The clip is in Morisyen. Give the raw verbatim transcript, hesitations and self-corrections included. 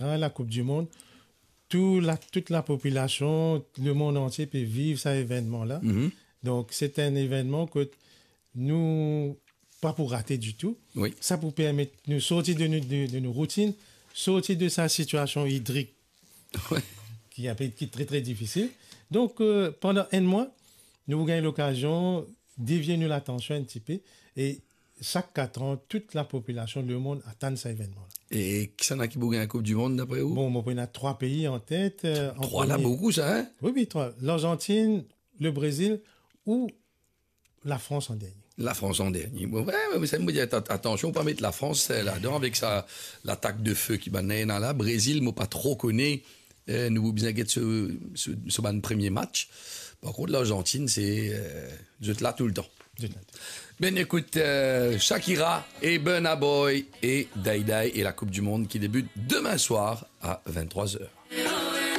hein, la Coupe du Monde, tout la, toute la population, le monde entier peut vivre sa evennman la. Mhm. Donc, c'est un événement que nous, pa pou rate ditou. Oui. Sa pou permet nou sorti de nou, de, de nou routine, sorti de sa situation hydrique Ouais. ki apel, ki tre, tre difisil. Donc, euh, pandan enn mwa, nou pou gagn lokazion devie nou latansion enn tipe. E sak kat an, tout la population, le monde atann sa evennman la. E kisannla ki pou gagn Coupe du Monde, dapre ou? Bon, mo pou ena trwa pei an tet, euh, an Trwa la, premie. Boukou sa, hein? Oui, oui, trwa. L'Argentine, le Brésil ou la Frans an dernie. La Frans an dernie. Bon, ouais, ouais, sa, mo dir, at-, atansion, pa met la Frans, euh, ladan, avek sa, latak de fe ki bann ena la. Brésil, mo pa tro kone. Euh, nou bizin get so, so, so bann premie match. Par kont, Larzantin, se, euh, zot la toultan. Zot la. Ben, ekout, euh, Shakira e Burna Boy e Day Day e la Coupe du Monde ki debit demin swar a vinn-trwa zer.